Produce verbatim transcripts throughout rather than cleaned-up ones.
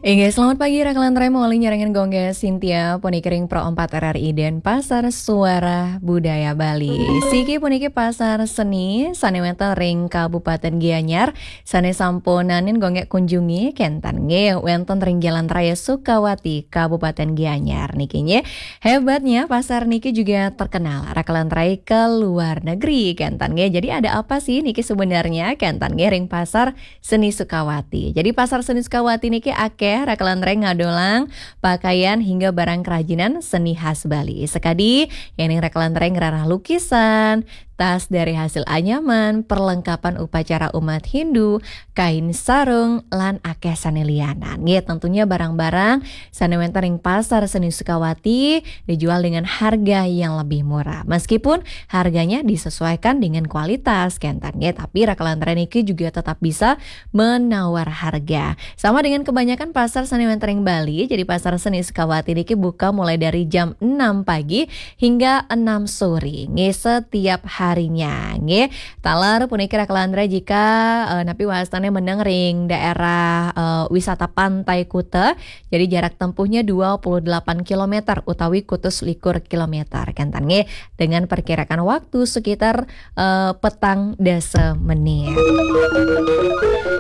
Inggih, selamat pagi, Raka lan Rai, mawali nyarengin Gung Gé Sintia, puniki ring Pro empat R R I Denpasar, Suara Budaya Bali. Siki puniki pasar seni sané wénten ring Kabupatén Gianyar, sané sampun nanin Gung Gé kunjungi, kénten nggih, wénten ring Jalan Raya Sukawati, Kabupatén Gianyar niki nggih. Hebatnya pasar niki juga terkenal, Raka lan Rai, ke luar negeri, kénten nggih. Jadi ada apa sih niki sebenarnya, kénten nggih, ring pasar seni Sukawati. Jadi pasar seni Sukawati niki akéh, Raka lan Rai, ngadolang pakaian hingga barang kerajinan seni khas Bali. Sakadi yéning Raka lan Rai ngrereh lukisan, tas dari hasil anyaman, perlengkapan upacara umat Hindu, kain sarung, lan akéh sané lianan. Nggih, tentunya barang-barang sané wénten ring pasar seni Sukawati dijual dengan harga yang lebih murah. Meskipun harganya disesuaikan dengan kualitas, kénten nggih, tapi Raka lan Rai niki juga tetap bisa menawar harga. Sama dengan kebanyakan pasar seni wénten ring Bali, jadi pasar seni Sukawati niki buka mulai dari jam enam pagi hingga enam sore, nggih, setiap harinya, nggih. Taler puniki, Raka lan Rai, jika, eh, napi wastané meneng ring daerah, eh, wisata Pantai Kuta, jadi jarak tempuhnya dua puluh delapan kilometer utawi kutus likur kilometer, kénten nggih, dengan perkirakan waktu sekitar, eh, petang dasa menit.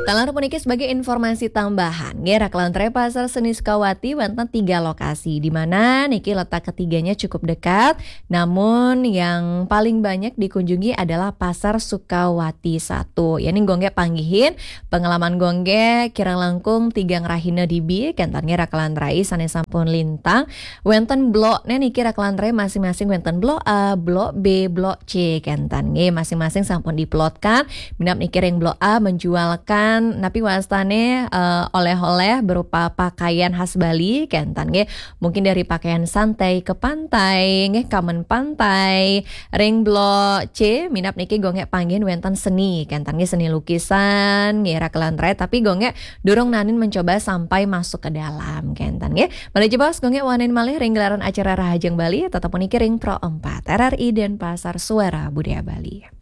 Taler puniki sebagai informasi tambahan, nggih, Raka lan Rai, pasar seni Sukawati wénten tiga lokasi, di mana niki letak ketiganya cukup dekat, namun yang paling banyak dikunjungi adalah Pasar Sukawati satu. Yéning Gung Gé panggihin pengalaman Gung Gé kirang langkung tigang rahina dibi, kénten nggih, Raka lan Rai, sané sampun lintang. Wénten blokné niki, Raka lan Rai, masing-masing wénten blok A, blok B, blok C, kénten nggih, masing-masing sampun diplotkan. Minab niki ring blok A menjualkan napi wastané, eh, oleh-oleh berupa pakaian khas Bali, kénten nggih. Mungkin dari pakaian santai ke pantai, nggih, kamen pantai. Ring blok C, minab niki Gung Gé panggihin wénten seni, kénten nggih, seni lukisan, nggih, Raka lan Rai, tapi Gung Gé durung nanin mencoba sampai masuk ke dalam, kénten nggih. Malih jebos, Gung Gé wangsulin malih ring gelaran acara Rahajeng Bali, tetep puniki ring Pro empat R R I Denpasar, Suara Budaya Bali.